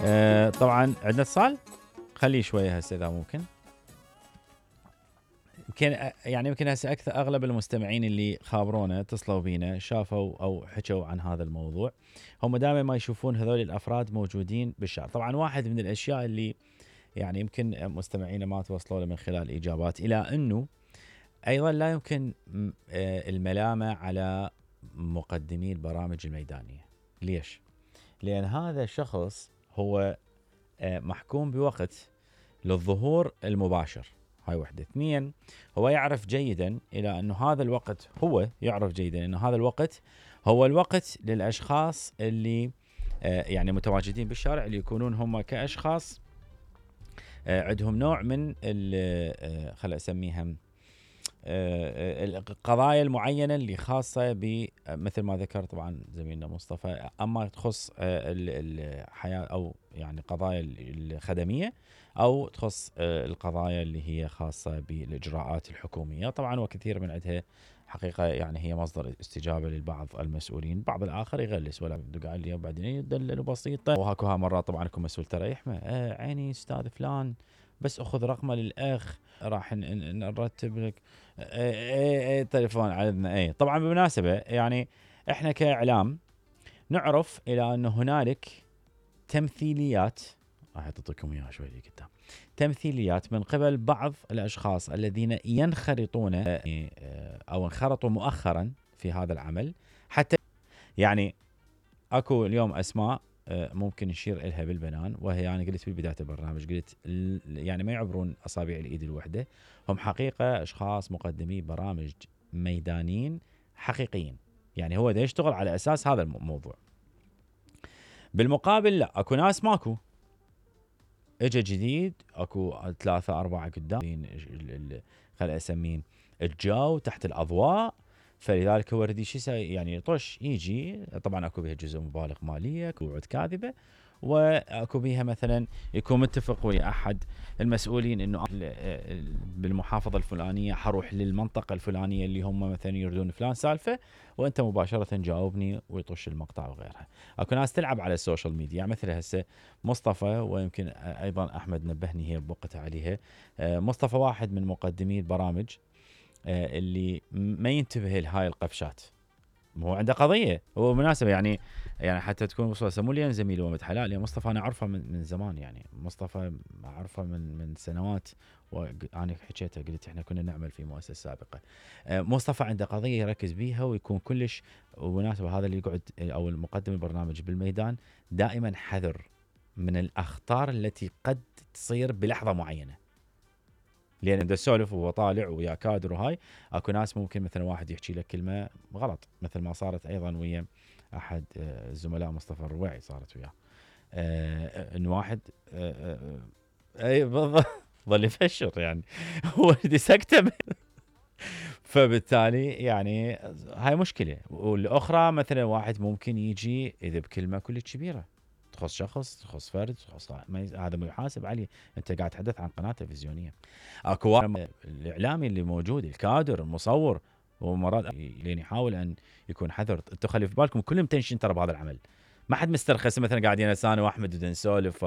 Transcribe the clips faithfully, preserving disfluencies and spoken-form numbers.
آه طبعا عندنا اتصال، خليه شويه هسه اذا ممكن. يمكن يعني يمكن هسه اكثر اغلب المستمعين اللي خابرونا اتصلوا بينا شافوا او حكوا عن هذا الموضوع، هم دائما ما يشوفون هذول الافراد موجودين بالشارع. طبعا واحد من الاشياء اللي يعني يمكن مستمعينا ما توصلوا له من خلال الاجابات، الى انه ايضا لا يمكن الملامه على مقدمي البرامج الميدانيه. ليش؟ لان هذا الشخص هو محكوم بوقت للظهور المباشر، هاي وحده. اثنين، هو يعرف جيدا الى انه هذا الوقت هو يعرف جيدا انه هذا الوقت هو الوقت للاشخاص اللي يعني متواجدين بالشارع، اللي يكونون هم كاشخاص عندهم نوع من خل اسميها القضايا المعينه اللي خاصه بمثل ما ذكر طبعا زميلنا مصطفى، اما تخص الحياه او يعني قضايا الخدميه، او تخص القضايا اللي هي خاصه بالاجراءات الحكوميه. طبعا وكثير من عندها حقيقه يعني هي مصدر استجابه للبعض المسؤولين، بعض الاخر يغلس ولا بده قال لي وبعدين يدلل بسيطه. وهاكو ها مرات طبعا يكون مسؤول ترى يحمى آه عيني استاذ فلان بس اخذ رقمه للاخ راح نرتب لك اي اي تليفون عندنا. اي طبعا بالمناسبه يعني احنا كاعلام نعرف الى انه هنالك تمثيليات، راح اعطيكم اياها شوي قدام، تمثيليات من قبل بعض الاشخاص الذين ينخرطون او انخرطوا مؤخرا في هذا العمل، حتى يعني اكو اليوم اسماء ممكن نشير إلها بالبنان، وهي يعني قلت بالبداية البرنامج قلت يعني ما يعبرون أصابع الإيد الوحدة، هم حقيقة أشخاص مقدمي برامج ميدانيين حقيقيين، يعني هو ده يشتغل على أساس هذا الموضوع. بالمقابل لا، أكو ناس ماكو، اجا جديد اكو ثلاثة أربعة قدام خل أسمين الجو تحت الأضواء، فلذلك هو ردي شو يسوي يعني يطش يجي. طبعا اكو بها جزء مبالغ ماليه، اكو وعود كاذبه، واكو بها مثلا يكون متفق ويا احد المسؤولين انه بالمحافظه الفلانيه حروح للمنطقه الفلانيه اللي هم مثلا يريدون فلان سالفه، وانت مباشره جاوبني ويطش المقطع وغيرها. اكو ناس تلعب على السوشيال ميديا، يعني مثل هسه مصطفى، ويمكن ايضا احمد نبهني هي بوقتها عليها. مصطفى واحد من مقدمي البرامج اللي ما ينتبه لهاي القفشات، هو عنده قضيه. هو مناسبه يعني يعني حتى تكون وصل مو لي زميلي ومد حلال، يعني مصطفى انا اعرفه من, من زمان، يعني مصطفى اعرفه من من سنوات، وانا حكيته قلت احنا كنا نعمل في مؤسسه سابقه. مصطفى عنده قضيه يركز بيها ويكون كلش. ومناسبه هذا اللي يقعد او المقدم البرنامج بالميدان دائما حذر من الاخطار التي قد تصير بلحظه معينه، لان بده يسولف وهو طالع ويا كادر وهاي اكو ناس ممكن مثلا واحد يحكي لك كلمه غلط، مثل ما صارت ايضا ويا احد الزملاء مصطفى الرويعي، صارت وياه آه ان واحد آه آه اي بالضبط ظل يفشر يعني هو سكته فبالتالي يعني هاي مشكله. والاخرى مثلا واحد ممكن يجي اذا بكلمه كلش كبيره تخص شخص تخص فرد تخص هذا ما يحاسب عليه، انت قاعد تحدث عن قناه تلفزيونيه. اكو الاعلامي اللي موجود الكادر المصور ومرات لين يحاول ان يكون حذر. انتم خلي في بالكم كلهم تنشين ترى بهذا العمل، ما حد مسترخص مثلا قاعدين انا واحمد بدنا نسولف.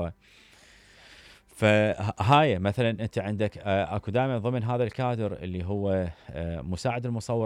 فهاي مثلا انت عندك اكو دائما ضمن هذا الكادر اللي هو مساعد المصور